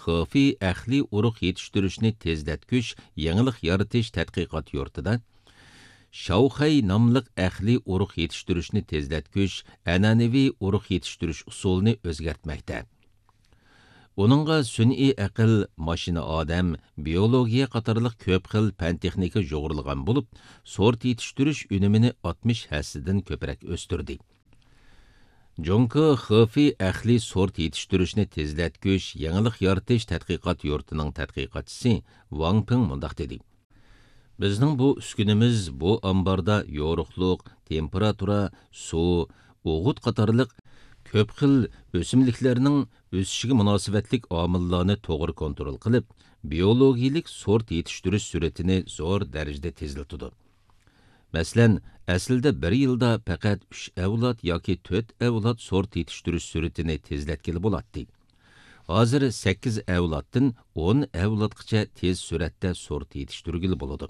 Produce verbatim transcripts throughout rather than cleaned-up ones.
خېفېي ئەقلىي ئۇرۇق يېتىشتۈرۈشنى تېزلەتكۈچ يېڭىلىق يارىتىش تەتقىقات يۇرتىدا شاۋخەي ناملىق ئەقلىي ئۇرۇق يېتىشتۈرۈشنى تېزلەتكۈچ ئەنئەنىۋى ئۇرۇق يېتىشتۈرۈش ئۇسۇلىنى ئۆزگەرتمەكتە. ئۇنىڭغا سۈنئىي ئەقىل، ماشىنا ئادەم، بىيولوگىيە قاتارلىق كۆپ خىل پەن-تېخنىكا يۇغۇرۇلغان بولۇپ، سورت يېتىشتۈرۈش ئۈنۈمىنى ئاتمىش ھەسسىدىن كۆپرەك ئۆستۈردى. جۇڭگو خېفېي ئەقلىي سورت يېتىشتۈرۈشنى تېزلەتكۈچ يېڭىلىق يارىتىش تەتقىقات يۇرتىنىڭ تەتقىقاتچىسى ۋاڭ پىڭ مۇنداق دېدى: بىزنىڭ بۇ ئۈسكۈنىمىز بۇ ئامباردا يورۇقلۇق، تېمپېراتۇرا، سۇ، ئوغۇت قاتارلىق كۆپ خىل ئۆسۈملۈكلەرنىڭ ئۆسۈشىگە مۇناسىۋەتلىك ئامىللارنى توغرا كونترول قىلىپ، بىيولوگىيىلىك سورت يېتىشتۈرۈش سۈرئىتىنى زور دەرىجىدە تېزلىتىدۇ. مەسىلەن، ئەسلىدە بىر يىلدا پەقەت ئۈچ ئەۋلاد ياكى تۆت ئەۋلاد سورت يېتىشتۈرۈش سۈرئىتىنى تېزلەتكىلى بولاتتى. ھازىر سەككىز ئەۋلادتىن ئون ئەۋلادقىچە تېز سۈرئەتتە سورت يېتىشتۈرگىلى بولىدۇ.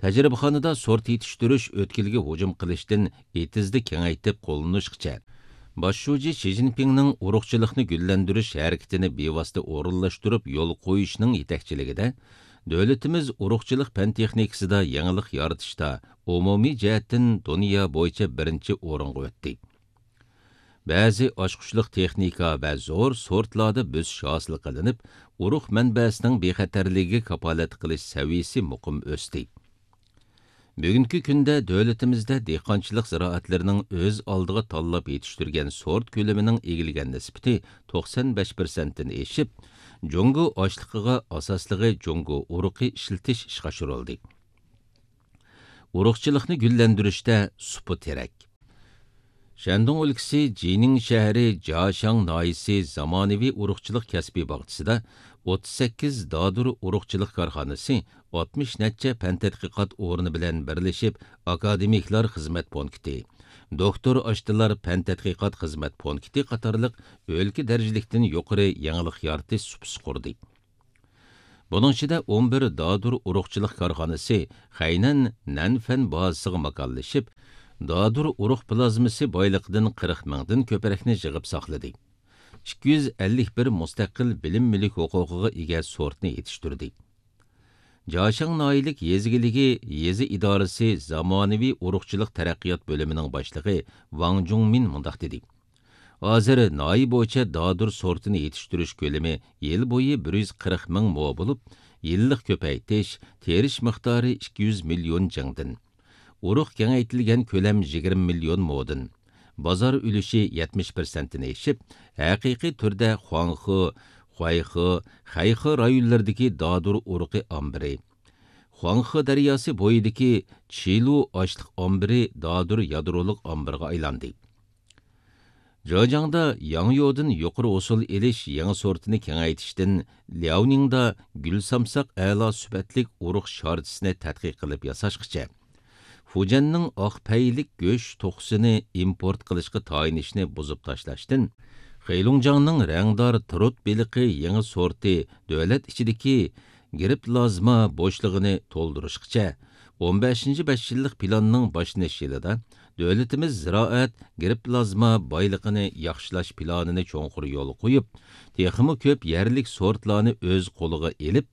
تەجرىبىخانىدا سورت يېتىشتۈرۈش ئۆتكىلىگە ھۇجۇم قىلىشتىن ئېتىزدا كېڭەيتىپ قوللىنىشقىچە، باش شۇجى شى جىنپىڭنىڭ ئۇرۇقچىلىقنى گۈللەندۈرۈش ھەرىكىتىنى بىۋاسىتە ئورۇنلاشتۇرۇپ يولغا قويۇشنىڭ يېتەكچىلىكىدە، دۆلىتىمىز ئۇرۇقچىلىق پەن-تېخنىكىسىدا يېڭىلىق يارىتىشتا ئومۇمىي جەھەتتىن دۇنيا بويىچە بىرىنچى ئورۇنغا ئۆتتى. بەزى ئاچقۇچلۇق تېخنىكا ۋە زور سورتلاردا بۆسۈش ھاسىل قىلىنىپ، ئۇرۇق مەنبەسىنىڭ بىخەتەرلىكىگە كاپالەتلىك قىلىش سەۋىيىسى مۇقىم ئۆستى. بۈگۈنكى كۈندە دۆلىتىمىزدە دېھقانچىلىق زىرائەتلىرىنىڭ ئۆز ئالدىغا تاللاپ يېتىشتۈرگەن سورت كۆلىمىنىڭ ئىگىلىگەن نىسبىتى توقسان بەش پىرسەنتتىن ئېشىپ، جۇڭگو ئاشلىقىغا ئاساسلىقى جۇڭگو ئۇرۇقى ئىشلىتىش ئىشقا ئاشۇرۇلدى. ئۇرۇقچىلىقنى گۈللەندۈرۈشتە سۇپا تىرەك. شەندۇڭ ئۆلكىسى جىنىڭ شەھىرى جياشاڭ ناھىيىسى زامانىۋى ئۇرۇقچىلىق كەسپىي باغچىسىدا ئوتتۇز سەككىز دادۇر ئۇرۇقچىلىق كارخانىسى، ئاتمىش نەچچە پەن تەتقىقات ئورنى بىلەن بىرلىشىپ، ئاكادېمىكلار خىزمەت پونكىتى، دوكتور ئاشتىلار پەن تەتقىقات خىزمەت پونكىتى قاتارلىق ئۆلكە دەرىجىلىكتىن يۇقىرى يېڭىلىق يارىتىش سۇپىسى قۇردى. بۇنىڭ ئىچىدە ئون بىر دادۇر ئۇرۇقچىلىق كارخانىسى خەينەن نەنفەن بازىسىغا ماكانلىشىپ، دادۇر ئۇرۇق پلازمىسى بايلىقىدىن قىرىق مىڭدىن كۆپرەكنى يىغىپ ساقلىدى. ئىككى يۈز ئەللىك بىر مۇستەقىل بىلىم مۈلۈك ھوقۇقىغا ئىگە سورتنى يېتىشتۈردى. جاشاڭ ناھىيەلىك يېزا ئىگىلىكى يېزا ئىدارىسى زامانىۋى ئۇرۇقچىلىق تەرەققىيات بۆلۈمىنىڭ باشلىقى ۋاڭ جۇڭمىن مۇنداق دېدى: ھازىر ناھىيە بويىچە دادۇر سورتىنى يېتىشتۈرۈش كۆلىمى يىل بويى بىر يۈز قىرىق مىڭ مو بولۇپ، يىللىق كۆپەيتىش، تېرىش مىقدارى ئىككى يۈز مىليون جىڭدىن، ئۇرۇق كېڭەيتىلگەن كۆلەم يىگىرمە مىليون مودىن، بازار ئۈلۈشى يەتمىش پىرسەنتتىن ئېشىپ، ھەقىقىي تۈردە خۇاڭخې، خۇەيخې، خەيخې رايونلىرىدىكى دادۇر ئۇرۇقى ئامبىرى، خۇاڭخې دەرياسى بويىدىكى چىلۇ ئاشلىق ئامبىرى دادۇر يادرولۇق ئامبىرىغا ئايلاندى. جېجياڭدا ياڭيودىن يۇقىرى ھوسۇل ئېلىش يېڭى سورتىنى كېڭەيتىشتىن لياۋنىڭدا گۈل سامساق ئەلا سۈپەتلىك ئۇرۇق شارچىسىنى تەتقىق قىلىپ ياساشقىچە، فۇجيەننىڭ ئاق پەيلىك گۆش توخۇسىنى ئىمپورت قىلىشقا تايىنىشنى بۇزۇپ تاشلاشتىن، خېيلۇڭجياڭنىڭ رەڭدار ترۇت بېلىقى يېڭى سورتى دۆلەت ئىچىدىكى گرىپلازما بوشلۇقىنى تولدۇرۇشقىچە، ئون بەشىنچى بەش يىللىق پىلاننىڭ باشلىنىش يىلىدا دۆلىتىمىز زىرائەت، گرىپلازما بايلىقىنى ياخشىلاش پىلانىنى چوڭقۇر يولغا قويۇپ، تېخىمۇ كۆپ يەرلىك سورتلارنى ئۆز قولىغا ئېلىپ،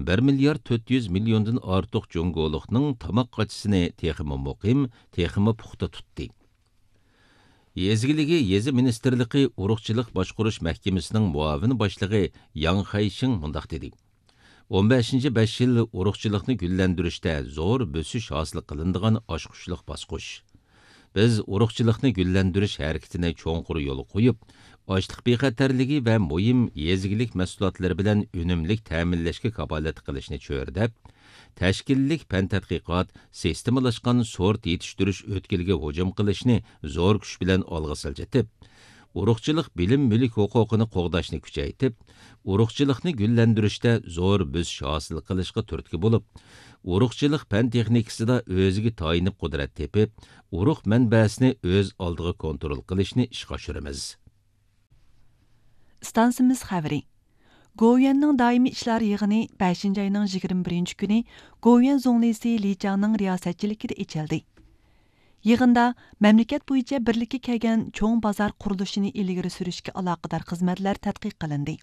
بىر مىليارد تۆت يۈز مىليوندىن ئارتۇق جۇڭگولۇقنىڭ تاماق قاچىسىنى تېخىمۇ مۇقىم، تېخىمۇ پۇختا تۇتتى. يېزا ئىگىلىكى يېزا مىنىستىرلىقى ئۇرۇقچىلىق باشقۇرۇش مەھكىمىسىنىڭ مۇئاۋىن باشلىقى ياڭ خەيشىڭ مۇنداق دېدى: ئون بەشىنچى بەش يىل ئۇرۇقچىلىقنى گۈللەندۈرۈشتە زور بۆسۈش ھاسىل قىلىنىدىغان ئاچقۇچلۇق باسقۇچ. بىز ئۇرۇقچىلىقنى گۈللەندۈرۈش ھەرىكىتىنى چوڭقۇر يولغا قويۇپ، ئاشلىق بىخەتەرلىكى ۋە مۇھىم يېزا ئىگىلىك مەھسۇلاتلىرى بىلەن ئۈنۈملۈك تەمىنلەشكە كاپالەتلىك قىلىشنى چۆرىدەپ، تەشكىللىك پەن تەتقىقات، سىستېمىلاشقان سورت يېتىشتۈرۈش ئۆتكىلىگە ھۇجۇم قىلىشنى زور كۈچ بىلەن ئالغا سىلجىتىپ، ئۇرۇقچىلىق بىلىم مۈلۈك ھوقۇقىنى قوغداشنى كۈچەيتىپ، ئۇرۇقچىلىقنى گۈللەندۈرۈشتە زور بۆسۈش ھاسىل قىلىشقا تۈرتكە بولۇپ، ئۇرۇقچىلىق پەن تېخنىكىسىدا ئۆزىگە تايىنىپ قۇدرەت تېپىپ، ئۇرۇق مەنبەسىنى ئۆز ئالدىغا كونترول قىلىشنى ئىشقا ئاشۇرىمىز. ئىستانسىمىز خەۋىرى. گوۋۇيۈەننىڭ دائىمىي ئىشلار يىغىنى بەشىنچى ئاينىڭ يىگىرمە بىرىنچى كۈنى گوۋۇيۈەن زۇڭلىسى لى چياڭنىڭ رىياسەتچىلىكىدە ئېچىلدى. يىغىندا مەملىكەت بويىچە بىرلىككە كەلگەن چوڭ بازار قۇرۇلۇشىنى ئىلگىرى سۈرۈشكە ئالاقىدار خىزمەتلەر تەتقىق قىلىندى.